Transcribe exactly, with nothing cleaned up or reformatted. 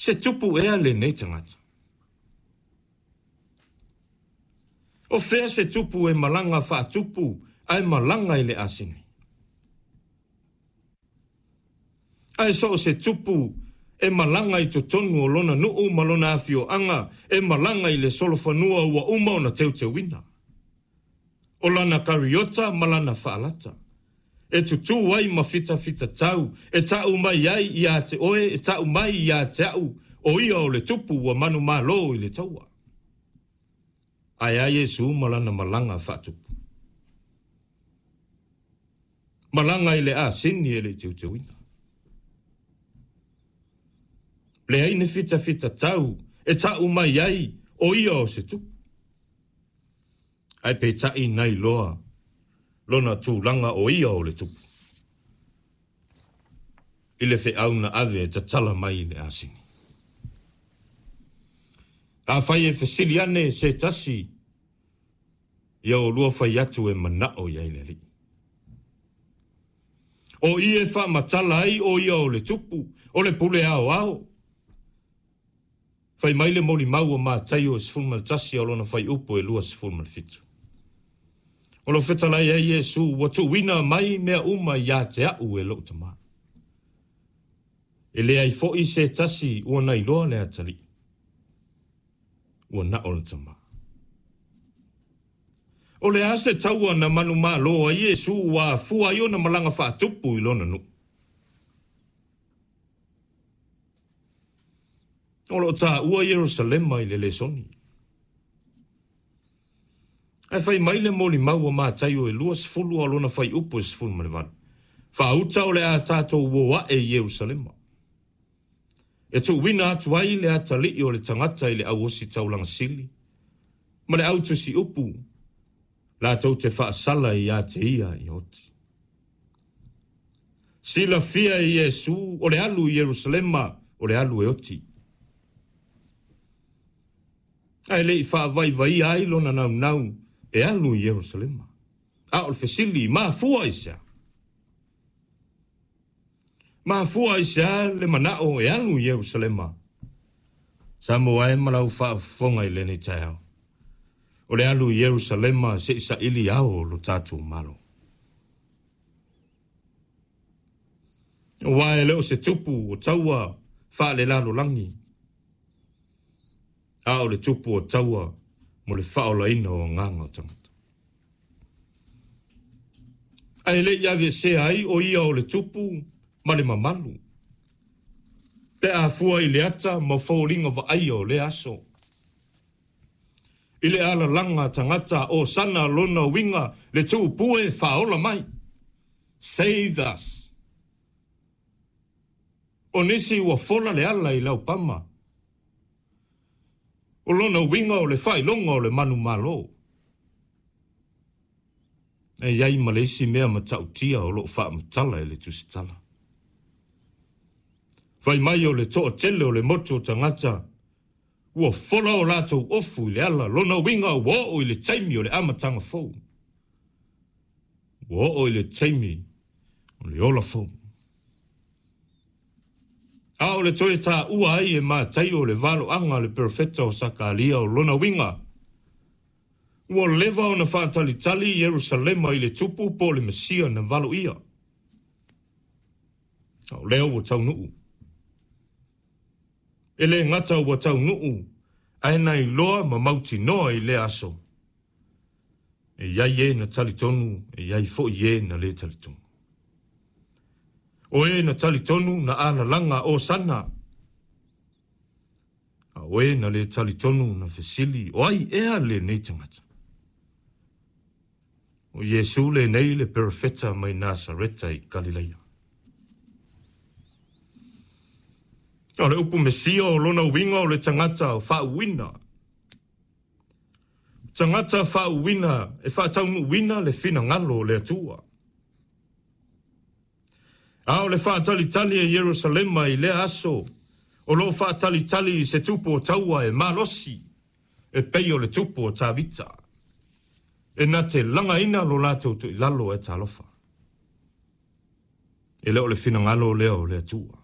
Se tupu ea lenei tagata. O fea se tupu e malaga faatupu ae malaga i le asini. Ae so o se tupu e malaga i totonu o lona nuu ma lona afioaga e malaga i le solofanua ua uma ona teuteuina. O lana kariota ma lana faalata. E tutū ai ma fitafita tau, e ta'u mai ai ia te oe, e ta'u mai ia te a'u, o ia o le tupu ua manumalo i le taua. Ae a Iesu ma lana malaga faatupu. Malaga i le asini e le teuteuina. Leai ni fitafita tau, e ta'u mai ai, o ia o se tupu. Ae peitai na iloa lona tulaga o ia o le tupu. I le feau na ave e tatala mai i le asini. Afai e fesili ane se tasi, ia olua fai atu e mana'o i ai le Alii. O i e faamatala ai o ia o le tupu, o le pule aoao. Fai mai le molimau o Mataio e sefulu ma le tasi o lona fuaiupu e luasefulu ma le fitu. O lo fetalai ai Iesu ua tuuina mai mea uma ia te a'u e lo'u Tamā. E leai fo'i se tasi ua na iloa le Atalii. Ua na o le Tamā. O le a se taua na manumalo ai Iesu ua afua ai ona malaga faatupu i lona nuu. O loo taua Ierusalema i le lesoni. Ae fai mai le molimau o Mataio e luasefulu o lona fuaiupu e sefulu ma le valu. Faauta o le a tatou o a'e i Ierusalema. E tuuina atu ai le Atalii o le tagata i le au ositaulaga sili. Ma le au tusiupu latou te faasala ia te ia ia oti. Silafia e Iesu o le alu i Ierusalema o le alu e oti. Ae le i faavaivaia ai lona naunau e alu i Ierusalema. A o le fesili, mafua i sea. Mafua i sea le mana'o e alu i Ierusalema. Samoa e ma lau faafofoga i lenei taeao. O le alu i Ierusalema se'i saili ao o lo tatou Malo. Aua e le o se tupu o taua faalelalolagi. A o le tupu o taua mo le faaolaina o agaga o tagata. Ae le i aveesea ai o ia o le tupu ma le mamalu. Pe afua i le ata ma foliga vaaia o lea aso. I le alalaga tagata o sana lona uiga le tuupue faaola mai. Save us. O nisi ua fola le ala i laupama. O lona uiga o le faailoga o le manumalo. E iai ma le isi mea matautia o loo faamatala e le tusitala. Fai mai o le toatele o le motu o tagata ua fola o latou ofu i le ala, lona uiga ua oo i le taimi o le amataga fou. Ua oo i le taimi o le ola fou. A o le toe taua ai e Mataio le valoaga le perofeta o Sakaria o lona uiga. Ua leva ona faatalitali Ierusalema i le tupu po o le Mesia na valoia. A o lea ua taunuu. E le gata ua taunuu, ae na iloa ma mautinoa i lea aso. E iai e na talitonu, e iai fo'i e na le talitonu. O e na talitonu na alalaga o sana. A o e na le talitonu na fesili, o ai ea lenei tagata. O Iesu lenei le perofeta mai Nasareta i Kalileia. O le upu Mesia o lona uiga o le tagata o faauuina. Tagata faauuina e faataunuuina le finagalo o le Atua. A o le faatalitali e Ierusalema i lea aso, o loo faatalitali i se tupu o taua e malosi, e pei o le tupu o Tavita. E na te lagaina lo latou toilalo e talofa. E le o le finagalo lea o le Atua.